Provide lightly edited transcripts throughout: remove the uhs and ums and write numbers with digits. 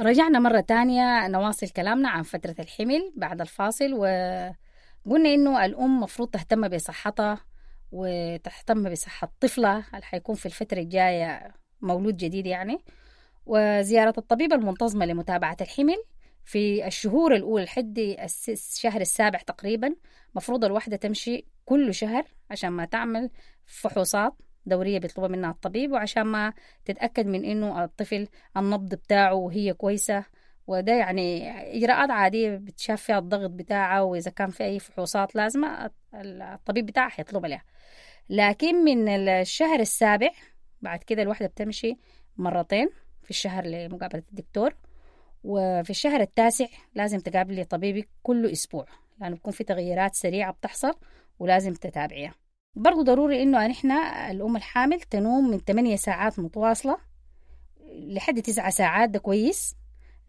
رجعنا مرة تانية نواصل كلامنا عن فترة الحمل بعد الفاصل، وقلنا إنه الأم مفروض تهتم بصحتها وتهتم بصحة طفلها اللي حيكون في الفترة الجاية مولود جديد يعني. وزيارة الطبيب المنتظمة لمتابعة الحمل في الشهور الأولى لحد الشهر السابع تقريبا، مفروض الواحدة تمشي كل شهر عشان ما تعمل فحوصات دورية بيطلبها منها الطبيب، وعشان ما تتأكد من إنه الطفل النبض بتاعه وهي كويسة. وده يعني إجراءات عادية بتشاف فيها الضغط بتاعه، وإذا كان في أي فحوصات لازمة الطبيب بتاعها حيطلبها لها. لكن من الشهر السابع بعد كده الواحدة بتمشي مرتين في الشهر لمقابلة الدكتور، وفي الشهر التاسع لازم تقابلي طبيبك كل أسبوع، لأنه بيكون في تغييرات سريعة بتحصل ولازم تتابعيها. برضو ضروري إنه نحن الأم الحامل تنوم من 8 ساعات متواصلة لحد 9 ساعات، ده كويس.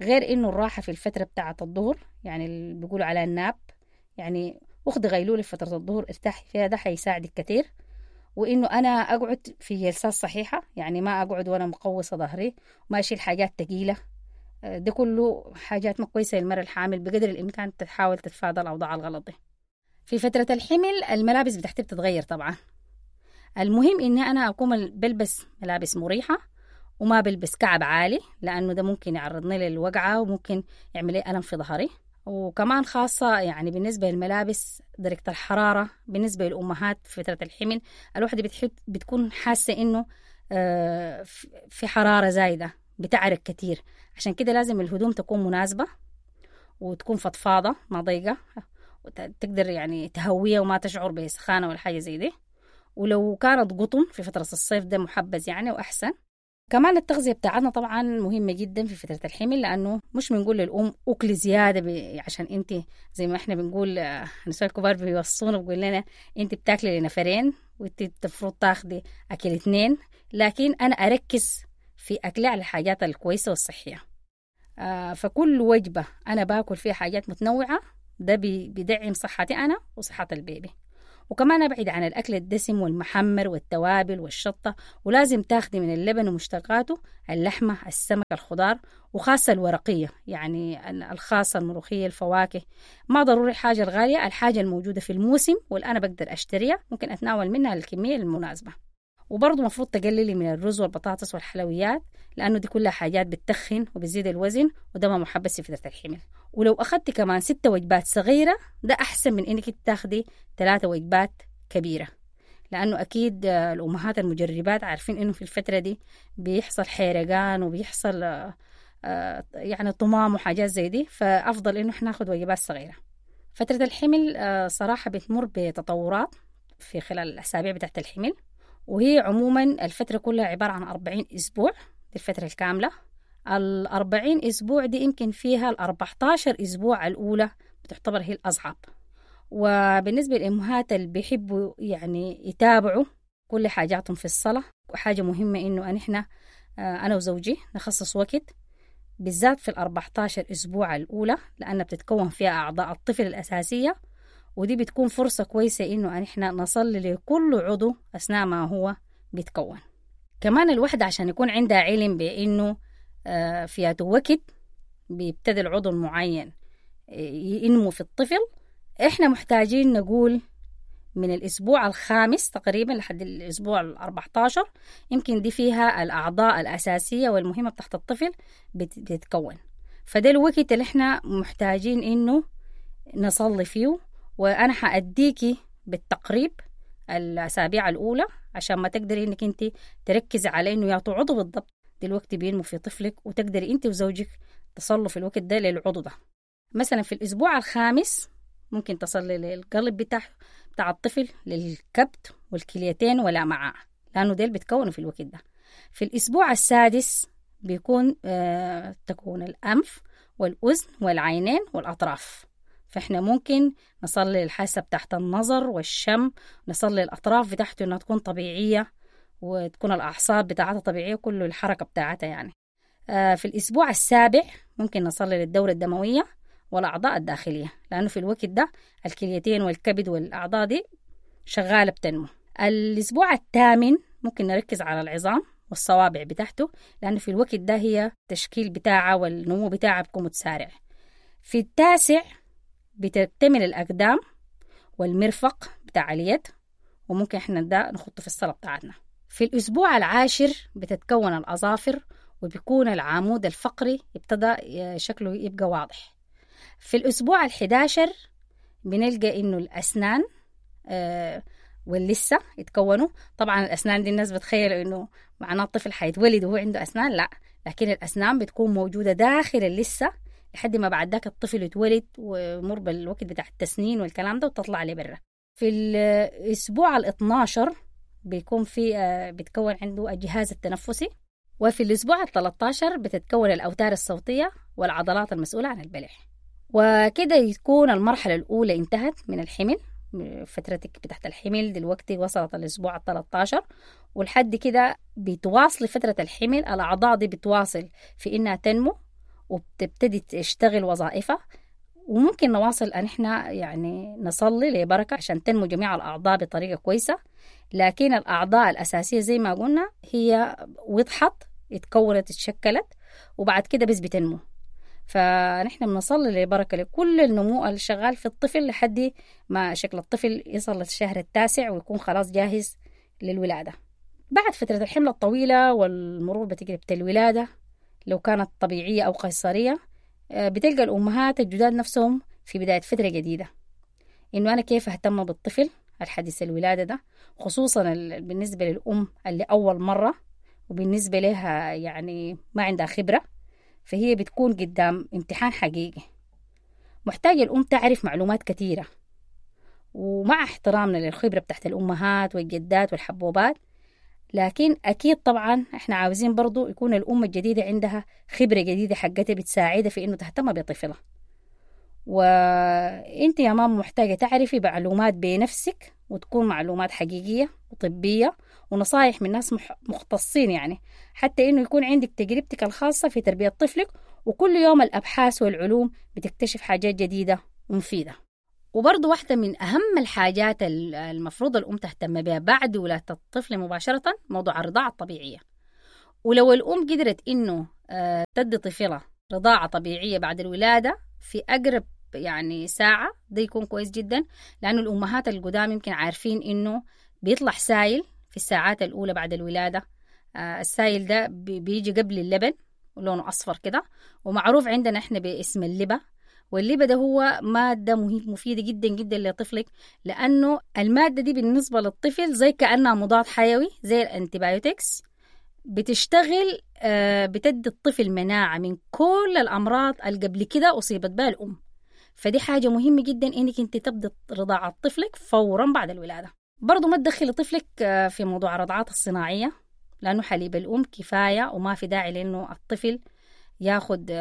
غير إنه الراحة في الفترة بتاعة الظهر، يعني اللي بيقولوا عليها الناب، يعني أخذ غيلولة في فترة الظهر ارتاحي فيها، ده حيساعدك كتير. وإنه أنا أقعد في جلسات صحيحة، يعني ما أقعد وأنا مقوصة ظهري، وما أشيل حاجات تقيلة، ده كله حاجات ما كويسة للمرأة الحامل. بقدر الإمكان تحاول تتفادى الأوضاع الغلط دي. في فترة الحمل الملابس بتاعتي بتتغير طبعا. المهم إني أنا أكون بلبس ملابس مريحة وما بلبس كعب عالي، لأنه ده ممكن يعرضني للوقعة وممكن يعمل لي ألم في ظهري. وكمان خاصة يعني بالنسبة للملابس درجة الحرارة بالنسبة للأمهات في فترة الحمل، الواحدة بتكون حاسة إنه في حرارة زايدة، بتعرق كتير. عشان كده لازم الهدوم تكون مناسبة وتكون فضفاضة ما ضيقة، وتقدر يعني تهوية وما تشعر بسخانة ولا حاجة زي دي. ولو كانت قطن في فترة الصيف ده محبذ يعني وأحسن. كمان التغذية بتاعتنا طبعا مهمة جدا في فترة الحمل، لأنه مش بنقول للأم أكل زيادة عشان أنت زي ما إحنا بنقول، النساء الكبار بيوصونا بيقول لنا أنت بتاكلي لنفرين وأنت المفروض تاخدي أكل 2، لكن أنا أركز في أكلي على الحاجات الكويسة والصحية. فكل وجبة أنا باكل فيها حاجات متنوعة، ده بيدعم صحتي أنا وصحة البيبي. وكمان أبعد عن الأكل الدسم والمحمر والتوابل والشطة، ولازم تاخدي من اللبن ومشتقاته، اللحمة، السمك، الخضار، وخاصة الورقية، يعني الخاصة الملوخية، الفواكه. ما ضروري الحاجة الغالية، الحاجة الموجودة في الموسم واللي أنا بقدر أشتريها ممكن أتناول منها الكمية المناسبة. وبرضه مفروض تقللي من الرز والبطاطس والحلويات، لأنه دي كلها حاجات بتتخن وبتزيد الوزن، وده ما محبذ في فترة الحمل. ولو أخدتي كمان 6 وجبات صغيرة ده أحسن من إنك تاخدي 3 وجبات كبيرة، لأنه أكيد الأمهات المجربات عارفين إنه في الفترة دي بيحصل حيرقان وبيحصل يعني طمام وحاجات زي دي، فأفضل إنه إحنا ناخد وجبات صغيرة. فترة الحمل صراحة بتمر بتطورات في خلال الأسابيع بتاعت الحمل، وهي عموما الفترة كلها عبارة عن 40 أسبوع، دي الفترة الكاملة. 40 أسبوع دي يمكن فيها 14 أسبوع الأولى بتعتبر هي الأصعب. وبالنسبة للأمهات اللي بيحبوا يعني يتابعوا كل حاجاتهم في الصلاة، وحاجة مهمة إنه نحن أنا وزوجي نخصص وقت بالذات في 14 أسبوع الأولى، لأنها بتتكون فيها أعضاء الطفل الأساسية، ودي بتكون فرصة كويسة إنه نحن نصلي لكل عضو أثناء ما هو بيتكون. كمان الوحدة عشان يكون عندها علم بإنه في وقت بيبتدي العضو المعين ينمو في الطفل، إحنا محتاجين نقول من الأسبوع 5 تقريبا لحد الأسبوع 14 يمكن دي فيها الأعضاء الأساسية والمهمة بتاعت الطفل بتتكون. فده الوقت اللي إحنا محتاجين إنه نصلي فيه. وأنا حأديكي بالتقريب الأسابيع الأولى عشان ما تقدري إنك أنت تركزي على إنه يعطوا عضو بالضبط دلوقتي بينمو في طفلك، وتقدري أنت وزوجك تصلوا في الوقت ده للعضو ده. مثلا في الأسبوع 5 ممكن تصلي للقلب بتاع الطفل، للكبد والكليتين والأمعاء، لأنه ديل بيتكونوا في الوقت ده. في الأسبوع 6 بيكون تكون الأنف والأذن والعينين والأطراف، فإحنا ممكن نصلي الحاسة بتاعت النظر والشم، نصلي الأطراف بتاعته إنها تكون طبيعية وتكون الأعصاب بتاعتها طبيعية، كل الحركة بتاعتها يعني. في الأسبوع 7 ممكن نصلي للدورة الدموية والأعضاء الداخلية، لأنه في الوقت ده الكليتين والكبد والأعضاء دي شغالة بتنمو. الأسبوع 8 ممكن نركز على العظام والصوابع بتاعته، لأنه في الوقت ده هي التشكيل بتاعها والنمو بتاعها بيكون متسارع. في التاسع بتكتمل الأقدام والمرفق بتاع اليد، وممكن احنا ده نحطه في الصلاة بتاعتنا. في الأسبوع العاشر بتتكون الأظافر، وبيكون العمود الفقري ابتدى شكله يبقى واضح. في الأسبوع 11 بنلقى إنه الأسنان واللسة يتكونوا. طبعا الأسنان دي الناس بتخيل إنه معناه الطفل حيتولد وهو عنده أسنان، لا، لكن الأسنان بتكون موجودة داخل اللسة لحد ما بعد ذاك الطفل يتولد ويمر بالوقت بتاع التسنين والكلام ده وتطلع لبرا. في الأسبوع 12 بيكون في بتكون عنده الجهاز التنفسي، وفي الأسبوع 13 بتتكون الأوتار الصوتية والعضلات المسؤولة عن البلع. وكده يكون المرحلة الأولى انتهت من الحمل، فترتك بتاعت الحمل دلوقتي وصلت الأسبوع 13، ولحد كده بتواصل فترة الحمل، الأعضاء دي بتواصل في إنها تنمو وبتبتدي تشتغل وظائفها، وممكن نواصل أن إحنا يعني نصلي لبركة عشان تنمو جميع الأعضاء بطريقة كويسة. لكن الأعضاء الأساسية زي ما قلنا هي وضحت، اتكونت، اتشكلت، وبعد كده بس بتنمو. فنحن بنصلي لبركة لكل النمو اللي شغال في الطفل لحد ما شكل الطفل يصل للشهر التاسع ويكون خلاص جاهز للولادة. بعد فترة الحمل الطويلة والمرور بتجربة الولادة لو كانت طبيعية أو قيصرية، بتلقى الأمهات الجداد نفسهم في بداية فترة جديدة، إنه أنا كيف أهتم بالطفل الحديث الولادة ده، خصوصا بالنسبة للأم اللي أول مرة وبالنسبة لها يعني ما عندها خبرة، فهي بتكون قدام امتحان حقيقي. محتاجة الأم تعرف معلومات كثيرة، ومع احترامنا للخبرة بتاعت الأمهات والجدات والحبوبات، لكن أكيد طبعا احنا عاوزين برضو يكون الأم الجديدة عندها خبرة جديدة حقتها بتساعدها في إنه تهتم بطفلها. وإنت يا ماما محتاجة تعرفي معلومات بنفسك، وتكون معلومات حقيقية وطبية ونصايح من ناس مختصين، يعني حتى إنه يكون عندك تجربتك الخاصة في تربية طفلك. وكل يوم الأبحاث والعلوم بتكتشف حاجات جديدة ومفيدة. وبرضو واحدة من أهم الحاجات المفروض الأم تهتم بها بعد ولادة الطفل مباشرة موضوع الرضاعة الطبيعية. ولو الأم قدرت إنه تدي طفلها رضاعة طبيعية بعد الولادة في أقرب يعني ساعة، ده يكون كويس جدا، لأنه الأمهات القدام يمكن عارفين إنه بيطلع سايل في الساعات الأولى بعد الولادة. السايل ده بيجي قبل اللبن ولونه أصفر كده، ومعروف عندنا إحنا باسم اللبة. واللبة ده هو مادة مفيدة جدا جدا لطفلك، لأنه المادة دي بالنسبة للطفل زي كأنها مضاد حيوي زي ال antibiotics، بتشتغل بتدي الطفل مناعة من كل الأمراض اللي قبل كده أصيبت بها الأم. فدي حاجة مهمة جدا إنك أنت تبدأ رضاعة طفلك فورا بعد الولادة. برضو ما تدخلي طفلك في موضوع الرضاعات الصناعية، لأنه حليب الأم كفاية وما في داعي لأنه الطفل ياخد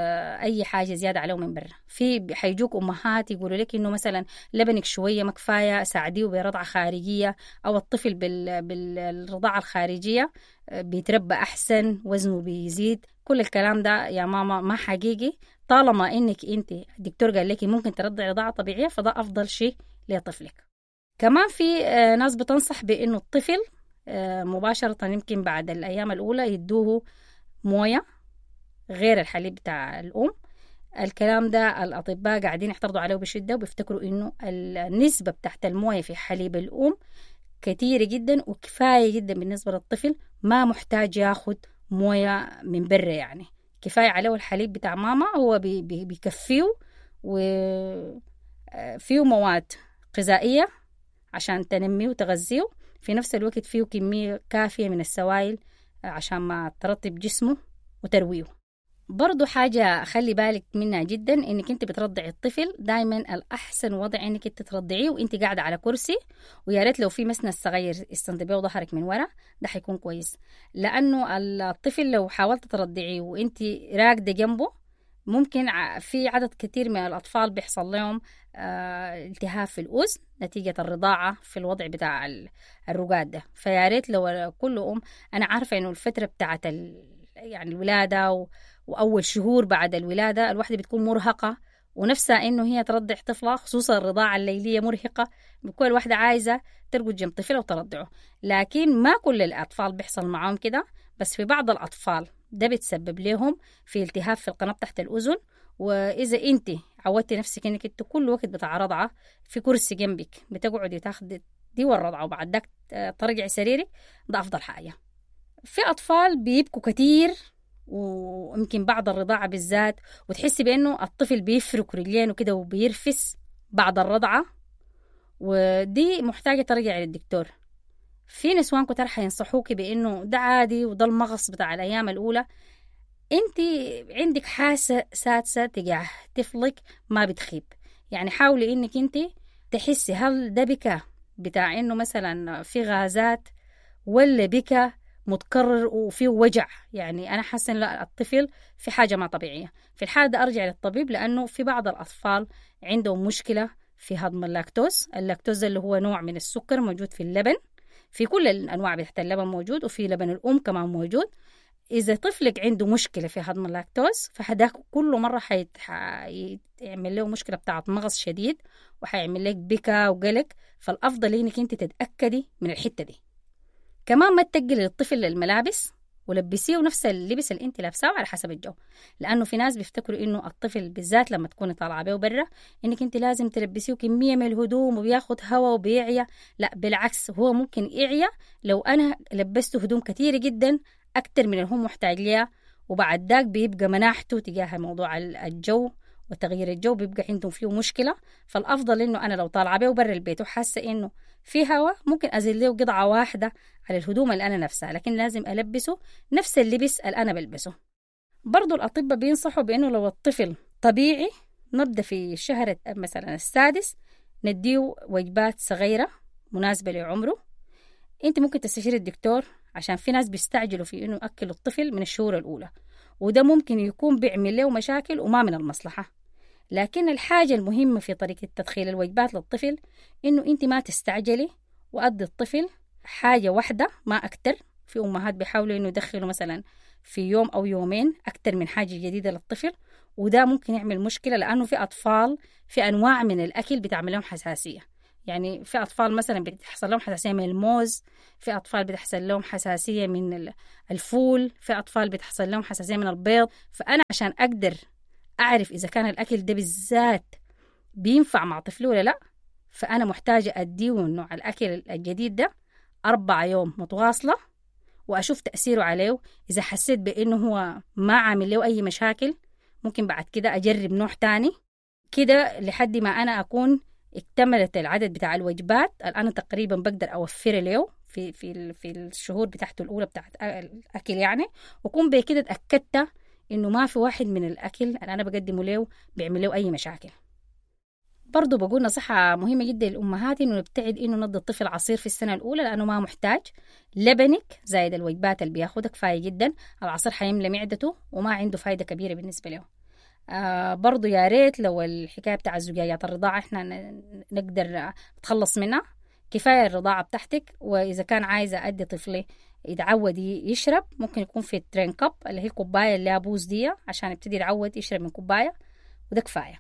أي حاجة زيادة عليه من برا. في حيجوك أمهات يقولوا لك إنه مثلا لبنك شوية ما كفاية، ساعديه برضعة خارجية، أو الطفل بالرضاعة الخارجية بيتربى أحسن، وزنه بيزيد. كل الكلام ده يا ماما ما حقيقي. طالما إنك أنت الدكتور قال لك ممكن ترضع رضاعة طبيعية، فده أفضل شيء لطفلك. كمان في ناس بتنصح بإنه الطفل مباشرة يمكن بعد الأيام الأولى يدوه موية غير الحليب بتاع الأم. الكلام ده الأطباء قاعدين يعترضوا عليه بشدة، وبيفتكروا إنه النسبة بتاعت الموية في حليب الأم كثيرة جدا وكفاية جدا بالنسبة للطفل، ما محتاج ياخد موية من برا، يعني كفاية عليه الحليب بتاع ماما، هو بيكفيه وفيه مواد غذائية عشان تنميه وتغذيه، في نفس الوقت فيه كمية كافية من السوائل عشان ما ترطب جسمه وترويه. برضو حاجة خلي بالك منها جدا، انك انت بترضعي الطفل دايما الاحسن وضع انك انت ترضعيه وانت قاعدة على كرسي، ويا ريت لو في مسند صغير استندي بيه ظهرك من ورا، ده حيكون كويس. لانه الطفل لو حاولت ترضعيه وانت راقدة جنبه، ممكن في عدد كتير من الأطفال بيحصل لهم التهاب في الأذن نتيجة الرضاعة في الوضع بتاع الرقاد ده. فيا ريت لو كل أم، أنا عارفة إنه الفترة بتاعت يعني الولادة وأول شهور بعد الولادة الواحدة بتكون مرهقة ونفسها إنه هي ترضع طفلها، خصوصا الرضاعة الليلية مرهقة، بكل واحدة عايزة ترقد جنب طفلها وترضعه. لكن ما كل الأطفال بيحصل معاهم كده، بس في بعض الأطفال ده بتسبب لهم في التهاب في القناة تحت الأذن. وإذا أنت عودتي نفسك إنك أنت كل وقت بتاع رضعة في كرسي جنبك بتقعدي تاخدي دي والرضعة وبعد ذاك ترجعي سريرك، ده أفضل حاجة. في أطفال بيبكوا كتير ويمكن بعد الرضاعة بالذات، وتحسي بأنه الطفل بيفرك رجلينه كده وبيرفس بعد الرضعة، ودي محتاجة ترجعي للدكتور. في نسوان كتار حينصحوكي بأنه ده عادي وده المغص بتاع الأيام الأولى. انت عندك حاسة سادسة تجاه طفلك ما بتخيب، يعني حاولي انك انت تحسي هل ده بكى بتاع انه مثلا في غازات ولا بكى متكرر وفيه وجع، يعني انا حاسه ان لا الطفل في حاجه ما طبيعيه. في الحاله ده ارجع للطبيب، لانه في بعض الاطفال عندهم مشكله في هضم اللاكتوز. اللاكتوز اللي هو نوع من السكر موجود في اللبن، في كل الانواع بتاعت اللبن موجود، وفي لبن الام كمان موجود. إذا طفلك عنده مشكلة في هضم اللاكتوز فهداك كل مرة حيعمل له مشكلة بتاعت مغص شديد وحيعمل لك بكا وقلق، فالأفضل إنك أنت تتأكدي من الحتة دي. كمان ما تتقلي للطفل الملابس ولبسيه نفس اللبس اللي انت لابساه على حسب الجو، لانه في ناس بيفتكروا انه الطفل بالذات لما تكوني طالعه بيه برا انك انت لازم تلبسيه كميه من الهدوم وبياخد هوا وبيعيا. لا بالعكس، هو ممكن يعيا لو انا لبسته هدوم كثيره جدا اكتر من اللي هو محتاج ليها، وبعد ذاك بيبقى مناعته تجاه موضوع الجو وتغيير الجو بيبقى عندهم فيه مشكله. فالافضل انه انا لو طالعه بيه برا البيت وحاسه انه في هوا ممكن ازيد له قطعه واحده على الهدوم اللي انا نفسها، لكن لازم البسه نفس اللبس اللي انا بلبسه. برضو الاطباء بينصحوا بانه لو الطفل طبيعي نبدا في الشهر مثلا السادس نديه وجبات صغيره مناسبه لعمره. انت ممكن تستشيري الدكتور، عشان في ناس بيستعجلوا في انه ياكلوا الطفل من الشهور الاولى، وده ممكن يكون بيعمل له مشاكل وما من المصلحه. لكن الحاجة المهمة في طريقة تدخيل الوجبات للطفل إنه أنت ما تستعجلي وأدي الطفل حاجة واحدة ما أكتر. في أمهات بيحاولوا إنه يدخلوا مثلا في يوم أو يومين أكتر من حاجة جديدة للطفل، وده ممكن يعمل مشكلة، لأنه في أطفال في أنواع من الأكل بتعمل لهم حساسية. يعني في أطفال مثلا بتحصل لهم حساسية من الموز، في أطفال بتحصل لهم حساسية من الفول، في أطفال بتحصل لهم حساسية من البيض. فأنا عشان أقدر أعرف إذا كان الأكل ده بالذات بينفع مع طفلي ولا لأ، فأنا محتاجة أديه نوع الأكل الجديد ده 4 يوم متواصلة وأشوف تأثيره عليه. إذا حسيت بإنه هو ما عامل له أي مشاكل ممكن بعد كده أجرب نوع تاني كده لحد ما أنا أكون اكتملت العدد بتاع الوجبات اللي أنا تقريبا بقدر أوفر له في في في الشهور بتاعته الأولى بتاعت الأكل يعني، وأكون بكده اتأكدت إنه ما في واحد من الأكل اللي أنا بقدمه له بيعمل له أي مشاكل. برضو بقول نصيحة مهمة جدا للأمهات إنه نبتعد إنه ندي الطفل عصير في السنة الأولى، لأنه ما محتاج. لبنك زايد الوجبات اللي بياخدها كفاية جدا، العصير حيملى معدته وما عنده فايدة كبيرة بالنسبة له. برضو يا ريت لو الحكاية بتاع الزجاجات الرضاعة إحنا نقدر نتخلص منها، كفاية الرضاعة بتاعتك. وإذا كان عايزة أدي طفلي يتعود يشرب ممكن يكون في ال train cup اللي هي الكوباية اللي أبوز دي عشان يبتدي يتعود يشرب من كوباية، وده كفاية.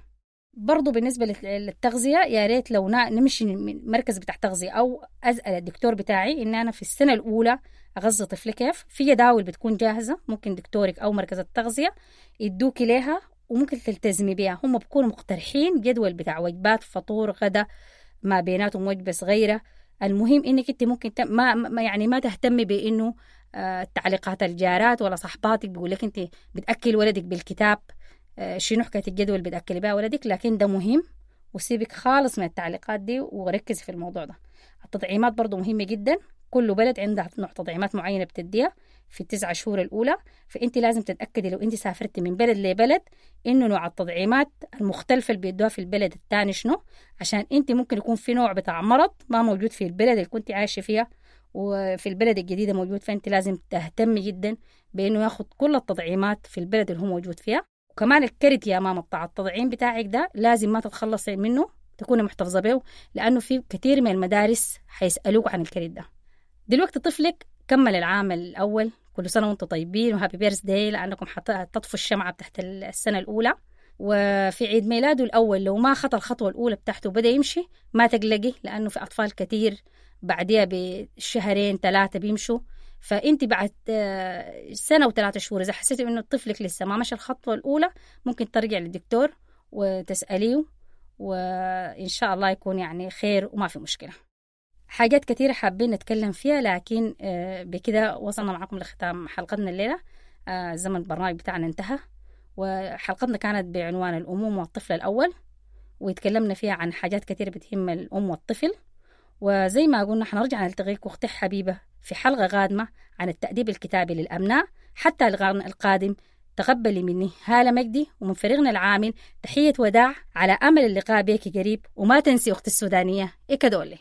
برضو بالنسبة للتغذية يا ريت لو نمشي من مركز بتاع تغذية أو أسأل الدكتور بتاعي إن أنا في السنة الأولى أغذي طفلي كيف. في جداول بتكون جاهزة ممكن دكتورك أو مركز التغذية يدوكي ليها وممكن تلتزمي بيها. هم بيكونوا مقترحين جدول بتاع وجبات فطور غدا ما بيناتهم وجبة صغيرة. المهم انك انت ممكن ما يعني ما تهتمي بانه تعليقات الجارات ولا صحباتك بيقول لك انت بتاكل ولدك بالكتاب، شنو حكايه الجدول بتاكلي بها ولدك، لكن ده مهم وسيبك خالص من التعليقات دي وركزي في الموضوع ده. التطعيمات برضو مهمه جدا، كل بلد عندها نوع تطعيمات معينه بتديها في 9 شهور الاولى، فانت لازم تتاكدي لو انت سافرتي من بلد لبلد انه نوع التطعيمات المختلفه اللي بيدوها في البلد الثاني شنو، عشان انت ممكن يكون في نوع بتاع مرض ما موجود في البلد اللي كنت عايشه فيها وفي البلد الجديده موجود، فانت لازم تهتمي جدا بانه ياخد كل التطعيمات في البلد اللي هو موجود فيها. وكمان الكرت يا ماما بتاع التطعيم بتاعك ده لازم ما تتخلصي منه، تكوني محتفظه به، لانه في كثير من المدارس حيسالوك عن الكرت ده. دلوقتي طفلك كمل العام الأول، كل سنة وانتم طيبين و happy birthday، لأنكم حتطفوا الشمعة بتاعت السنة الأولى. وفي عيد ميلاده الأول لو ما خطى الخطوة الأولى بتاعته وبدأ يمشي ما تقلقي، لأنه في أطفال كتير بعديها بشهرين 3 بيمشوا. فأنت بعد سنة و3 شهور إذا حسيتي إنه طفلك لسه ما مشى الخطوة الأولى، ممكن ترجع للدكتور وتسأليه، وإن شاء الله يكون يعني خير وما في مشكلة. حاجات كثيرة حابين نتكلم فيها، لكن بكده وصلنا معكم لختام حلقتنا الليلة. زمن البرنامج بتاعنا انتهى، وحلقتنا كانت بعنوان الأمومة والطفل الأول، وتكلمنا فيها عن حاجات كثيرة بتهم الأم والطفل. وزي ما قلنا حنرجع نلتقيك أختي حبيبة في حلقة قادمة عن التأديب الكتابي للأبناء. حتى اللقاء القادم، تقبلي مني هالة مجدي ومن فريقنا العامل تحية وداع، على أمل اللقاء بك قريب. وما تنسي أختي السودانية إكادولي.